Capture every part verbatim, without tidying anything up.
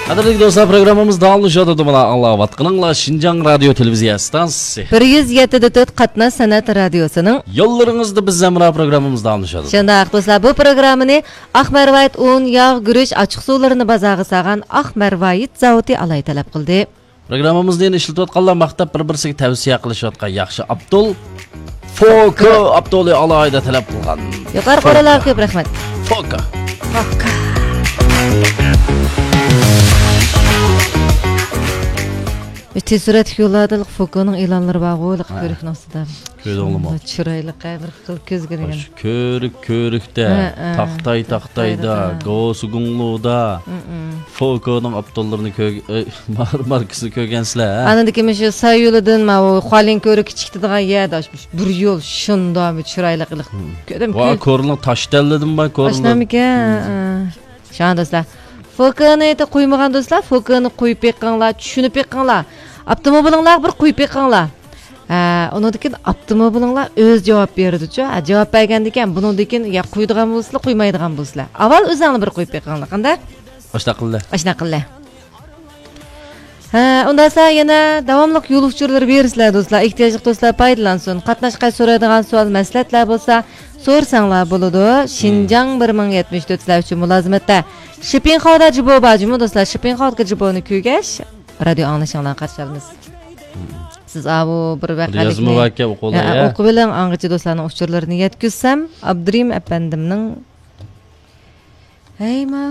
قەدىرلىك دوستلار، پروگراممىمىز داۋاملىشىۋاتىدۇ. مانا ئاڭلاۋاتقىنىڭلار شىنجاڭ رادىيو تېلېۋىزىيە ئىستانسىسى. بىر يۈز يەتتە دە تۆت قاتناش سەنئەت رادىيوسىنىڭ يوللىرىڭىزدا بىز ھەمراھ پروگراممىمىز داۋاملىشىۋاتىدۇ. شۇنداق دوستلار، بۇ پروگراممىنى ئاق مەرۋايىت ئۇن، ياغ، گۈرۈچ، ئاچچىق سۇلىرىنى بازارغا سالغان ئاق مەرۋايىت زاۋۇتى ئالاھىدە تەلەپ قىلدى. پروگراممىمىزنى يەنە ئىشلىتىۋاتقانلار ماختاپ بىر-بىرسىگە تەۋسىيە قىلىشىۋاتقان ياخشى ئابدۇل. فوكا ئابدۇلى ئالاھىدە تەلەپ قىلغان. يۇقىرىقى فوكا. ئورۇنلارغا كۆپ رەھمەت. فوكا. فوكا. تېز سۈرئەتلىك يوللاردىن فوكانىڭ ئېلانلىرى بارغۇ، ھە. كۆۋرۈكنىڭ ئۈستىدە. كۆردۈڭلىمۇ؟ شۇنداق چىرايلىق، ھە، بىر خىل كۆزگە دېگەن. شۇ كۆۋرۈك، كۆۋرۈكتە، ھە، ھە. تاختاي، تاختايدا، تاختايدا، ھە. گوسۇگۇڭلۇدا، ھە، ھە. فوكانىڭ ئاپتورلىرىنى كۆرگ-، ئە، مار-، ماركىسىنى كۆرگەنسىلەر، ھە؟ ئاندىن كېيىن مۇشۇ ساييۇلىدىن ماۋۇ خۇالىن كۆۋرۈك كىچىكتىدىغان يەردە، مۇشۇ بىر يول شۇنداق بىر چىرايلىق ئىلىق. ھە. كۆردۈم، ۋا، كۆ- كورلىنىڭ تاشتەنلىدىن بار، كورلىنىڭ. ئاشۇنداقمىكەن؟ ھە. ھە، ھە. شۇڭا دوستلار، فوكانى قويمىغان دوستلار، فوكانى قويۇپ بېقىڭلار، چۈشىنىپ بېقىڭلار. ئاپتوموبىلىڭلارغا بىر قويۇپ بېقىڭلار. ھە، ئۇنىڭدىن كېيىن ئاپتوموبىلىڭلار ئۆزى جاۋاب بېرىدۇچۇ. ھە، جاۋاب بەرگەندىن كېيىن، بۇنىڭدىن كېيىن يا قويىدىغان بولىسىلەر، قويمايدىغان بولىسىلەر. ئاۋۋال ئۆزۈڭلار بىر قويۇپ بېقىڭلار، قانداق؟ ئاشۇنداق قىلدى. ئاشۇنداق قىلدى. ھە، ئۇنداقسا يەنە داۋاملىق يول ئۇچۇرلىرى بېرىسىلەر دوستلار. ئېھتىياجلىق دوستلار پايدىلانسۇن. قاتناش قەيت سورايدىغان سوئال، مەسلىھەتلەر بولسا سورىساڭلار بولىدۇ. شىنجاڭ بىر مىڭ يەتمىش تۆت سىلەر ئۈچۈن مۇلازىمەتتە. شىپىڭخاۋدا جىبو بار جۇمۇ دوستلار. شىپىڭخاۋدىكى جىبونى كۆرگەچ، رادىيو ئاڭلىشىڭلارنى قارشى ئالىمىز. سىز ئاۋۇ بىر ۋەقەلىكنى يازما ۋەقە ئوقۇڭلار، يا، يا. ئوقۇۋېلىڭ، ئاڭغىچە دوستلارنىڭ ئۇچۇرلىرىنى يەتكۈزسەم، ئابدۇرېھىم ئەپەندىمنىڭ ھەي، ما،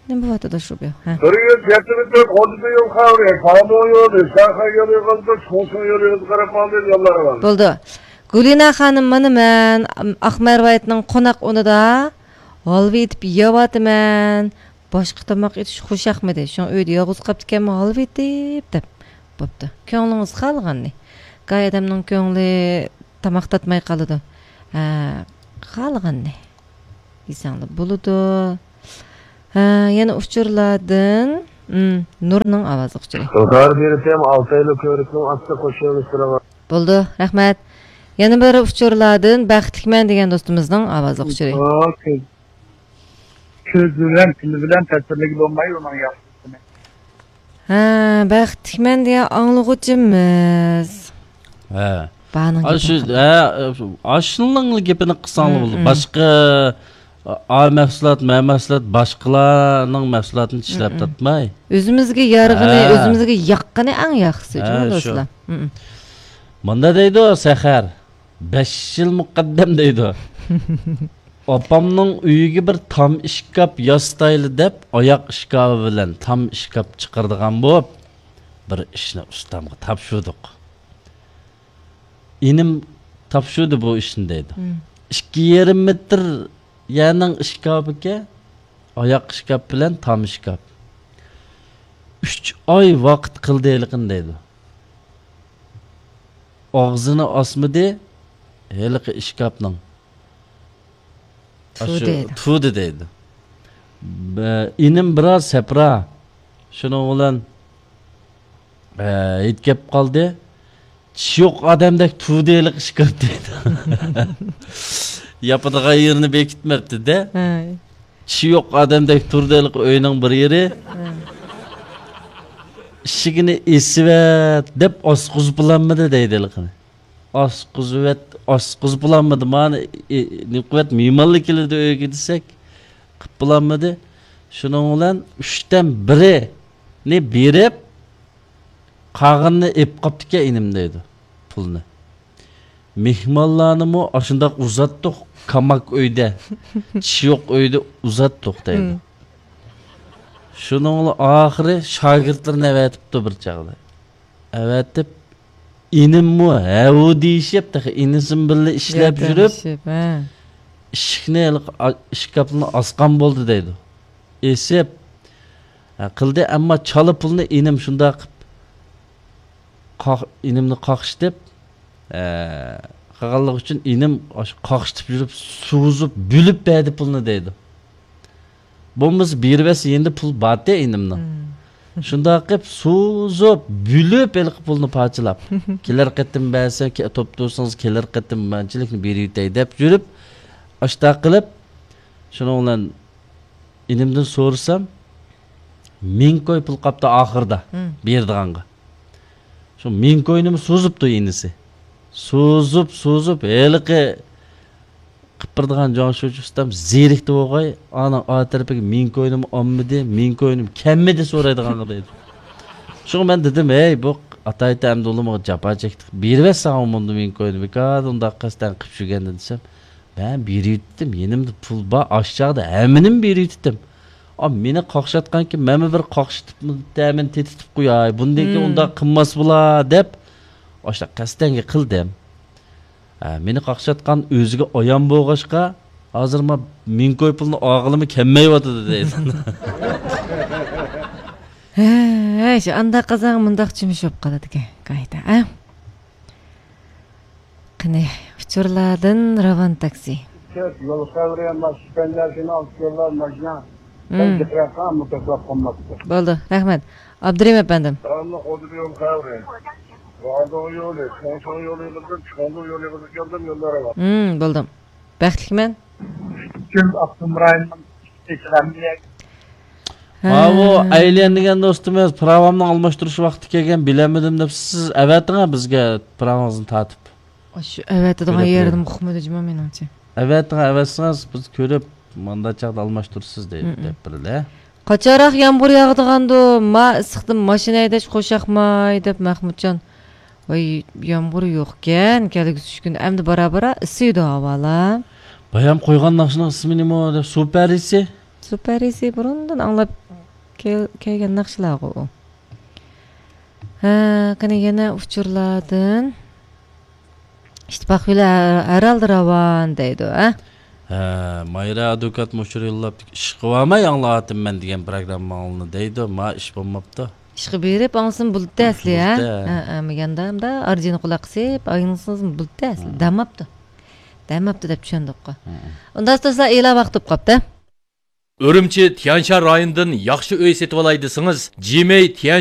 نېمە بولۇۋاتىدۇ شۇ بۇ؟ ھە. بىر يۈز يەتتە مىڭ تۆت ئون يول خەۋىرى، پامۇ يولى، شاخا يولى يېغىلدى، چوڭسۇڭ يولى يېغىلدى، قاراپ ماڭدى، يوللار بار. بولدى. گۈلىنا خانىم، مانا مەن، ئاق مەرۋايىتنىڭ قوناق ئورنىدا ھالۋا ئېتىپ يەۋاتىمەن. باشقا تاماق ئېتىش خۇشياقمىدى. شۇڭا ئۆيدە يالغۇز قاپتىكەنمەن، ھالۋا ئېتىپ، دەپ بوپتۇ. كۆڭلىڭىز خالىغاننى. گاھى ئادەمنىڭ كۆڭلى تاماق تاتماي قالىدۇ. ھە، خالىغاننى. يېسەڭلار بولىدۇ. ھە، يەنە ئۇچۇرلاردىن، ئىم، نۇرنىڭ ئاۋازلىق ئۇچۇرى. ئىنكار بېرىتىم ئالتايلىق كۆۋرۈكنىڭ ئاستى قوشۇلمىش سىرىغا. بولىدۇ، رەھمەت. يەنە بىر ئۇچۇرلاردىن بەختلىكمەن دېگەن دوستىمىزنىڭ ئاۋازلىق ئۇچۇرى. ئا، كۆز، كۆز بىلەن، تىل بىلەن تەسۋىرلىگىلى بولمايدۇ ئۇنىڭ ياخشىسىنى. ھە، بەختلىكمەن دېگەن ئاڭلىغۇچىمىز. ھە. بارنىڭ ئاشۇ، گېپىنى قىلىڭ. ھە، ئاشۇنىڭ گېپىنى قىلساڭلار بولىدۇ. مم، مم. باشقا، ئا، مەھسۇلات، مە مەھسۇلات، باشقىلارنىڭ مەھسۇلاتىنى چىشلەپ، مم، مم، تارتماي. ئۆزىمىزگە يارىغىنى، ھە، ئۆزىمىزگە ياققىنى ئەڭ ياخشىسى، ھە، شۇ دوستلار. مم، مم. مۇندا دەيدۇ سەھەر، بەش يىل مۇقەددەم دەيدۇ. ئاپامنىڭ ئۆيىگە بىر تام ئىشكاپ ياسىتايلى دەپ، ئاياق ئىشكاپى بىلەن تام ئىشكاپ چىقىرىدىغان بولۇپ، بىر ئىشنى ئۇستامغا تاپشۇردۇق. ئىنىم تاپشۇردى بۇ ئىشنى دەيدۇ. مم. ئىككى يېرىم مېتىر يەرنىڭ ئىشكاپىكەن، ئاياق ئىشكاپ بىلەن تام ئىشكاپ. ئۈچ ئاي ۋاقىت قىلدى ھېلىقىنى دەيدۇ. ئاغزىنى ئاچمىدى ھېلىقى ئىشكاپنىڭ. تۇدى ئاشۇ دەيدۇ. تۇدى دەيدۇ. بە-، ئىنىم بىراز سەپرا. شۇنىڭ بىلەن، ئە، ھېيت كەپ قالدى. چىشى يوق ئادەمدەك تۇدى ھېلىقى ئىشكاپ دەيدۇ. ياپىدىغان يېرىنى بېكىتمەپتۇ-دە. ھەي. چىشى يوق ئادەمدەك تۇردى ھېلىقى ئۆينىڭ بىر يېرى. ھە. ئىشىكىنى ئېسىۋەت دەپ ئاچقۇزۇپ بولالمىدى دەيدۇ ھېلىقىنى. ئاچقۇزۇۋەت، ئاچقۇزۇپ بولالمىدى. مانا، ئى، نېمە قىلىۋەت، مېھمانلار كېلىدۇ ئۆيگە دېسەك، قىپ بولالمىدى. شۇنىڭ بىلەن ئۈچتىن بىرىنى بېرىپ، قالغىنىنى ئېلىپ قاپتىكەن ئىنىم دەيدۇ، پۇلنى. مېھمانلارنىمۇ ئاشۇنداق ئۇزاتتۇق، كاماك ئۆيدە، چىشى يوق ئۆيدە ئۇزاتتۇق دەيدۇ. مم. شۇنىڭ بىلەن ئاخىرى شاگىرتلىرىنى ئەۋەتىپتۇ بىر چاغدا. ئەۋەتىپ، ئىنىممۇ ھەۋۇ دېيىشىپ، تېخى ئىنىسىمۇ بىللە ئىشلەپ ياردەم يۈرۈپ، ئىشىپ، ھە. ئىشىكنى ھېلىقى ئا-، ئىشكاپنى ئاسقان بولدى دەيدۇ. ئېسىپ، ھە، قىلدى، ئەمما چالا پۇلنى ئىنىم شۇنداق قىپ، قاق-، ئىنىمنى قاقشىتىپ، ھە، قىلغانلىقى ئۈچۈن ئىنىم ئاشۇ قاقشىتىپ يۈرۈپ، سوزۇپ، بۆلۈپ بەردى پۇلنى دەيدۇ. بولمىسا بېرىۋەتسە يېنىدا پۇل بارتى ئىنىمنىڭ. مم. شۇنداق قىلىپ سوزۇپ، بۆلۈپ ھېلىقى پۇلنى پارچىلاپ. كېلەر قېتىم بەرسەم، كە-، توپ تۇرسىڭىز كېلەر قېتىم مانچىلىكنى بېرىۋېتەي دەپ يۈرۈپ، ئاشتاق قىلىپ، شۇنىڭ بىلەن ئىنىمدىن سورىسام، مىڭ كوي پۇل قاپتۇ ئاخىرىدا بېرىدىغانغا. شۇ مىڭ كوينىمۇ سوزۇپتۇ ئىنىسى. سوزۇپ، سوزۇپ، ھېلىقى قىپىردىغان جاڭ شۇجى ئۇستام زېرىكتى بولغاي، ئانا ئا تەرىپىگە مىڭ كوينىمۇ ئالمىدى، مىڭ كوينىمۇ كەلمىدى سورايدىغانغا دەيدۇ. شۇڭا مەن دېدىم، ھەي، بۇ ئاتايتە ئەمدى ئۇلىمىغا جاپا چەكتۇق، بېرىۋەتسەڭ مۇندىن مىڭ كوينى، بىكار ئۇنداق قەستەن قىپ يۈرگەندە دېسەم، مەن بېرىۋېتتىم، يېنىمدا پۇل بار، ئاشچاغدا ھەممىنىمۇ بېرىۋېتتىم. ئا، مېنى قاقشاتقانكىن، مەنمۇ بىر قاقشىتىپ، تەمىنى تېتىتىپ قوياي، بۇندىن كېيىن ئۇنداق قىلماس بۇلار، دەپ، ئاشۇنداق قەستەنگە قىلدىم. ھە، مېنى قاقشاتقان ئۆزىگە ئايان بولغاچقا، ھازىر ما مىڭ كوي پۇلنى ئالغىلىمۇ كەلمەيۋاتىدۇ دەيدۇ. ھە، شۇ ئانداق قىلساڭ مۇنداق چۈمۈش بولۇپ قالىدىكەن، قايتا، ھە؟ قېنى، ئۇچۇرلاردىن راۋان تاكسى. يول خەۋىرى، ماشىنا، ماشىنا، ماشىنا. مم. بولدى، رەھمەت. ئابدۇرېھىم ئەپەندىم. داۋاملىق ئوتتۇرا يول خەۋىرى. راندۇ يولى، چوڭچۇڭ يولى قىلدىم، چوڭدۇ يولى قىلدىم، كەلدىم، يوللار ئاۋات. مم، بولدۇم. بەختلىكمەن. پۈتۈن ئاپتونوم رايوننىڭ ئىچىدىكى ھەممە يەر. ھە. ماۋۇ ئەيلەن دېگەن دوستىمىز، پىراۋامنىڭ ئالماشتۇرۇش ۋاقتى كەلگەن، بىلەلمىدىم دەپ، سىز ئەۋەتىڭە بىزگە پىراۋىڭىزنى تارتىپ. ئاشۇ ئەۋەتىدىغان كۆرۈپ يەردىمۇ ئۇقمىدى جۇما مېنىڭچە. ئەۋەتىڭە، ئەۋەتسىڭىز، بىز كۆرۈپ، مانداق چاغدا ئالماشتۇرىسىز دەي-، مم. دەپ بېرىلە. قاچانراق يامغۇر ياغىدىغاندۇ؟ ما ئىسسىقتىن ماشىنا ھەيدەش قوشاقماي، دەپ مەخمۇتجان. ۋاي، يامغۇر يوقكەن، كەلگۈسى ئۈچ كۈن ئەمدى بارا-بارا ئىسسىيدۇ ھاۋالار. بايام قويغان ناخشىنىڭ ئىسمى نېمە دەپ، سۇ پەرىسى؟ سۇ پەرىسى بۇرۇندىن ئاڭلاپ كەل-، كەلگەن ناخشىلارغۇ ئۇ. ھە، قېنى يەنە ئۇچۇرلاردىن. ئىتتىپاق يولى ھە-، ھەر ھالدا راۋان دەيدۇ، ھە؟ ھە، مايرا ئادۋوكات مۇشۇ يوللاپ، ئىشقا بارماي ئاڭلاۋاتىمەن دېگەن پروگرامماڭلارنى دەيدۇ، ما ئىش بولماپتۇ. ئىشقا بېرىپ ئاڭلىسىمۇ بولدى ئەسلى، ھە؟ بولدى. ھە، ھە، مەن ياندا ئارجىنى قۇلاق قىسىپ ئاڭلىسىڭىزمۇ بولدى ئەسلى. ھە. دەماپتۇ. دەماپتۇ دەپ چۈشەندۇققۇ. ھە. ئۇنداق دوستلار، ئېلان ۋاقتى بولۇپ قاپتۇ. ئۈرۈمچى تيەنشان رايونىدىن ياخشى ئۆي سېتىۋالاي دېسىڭىز، جىمەي تيەنشان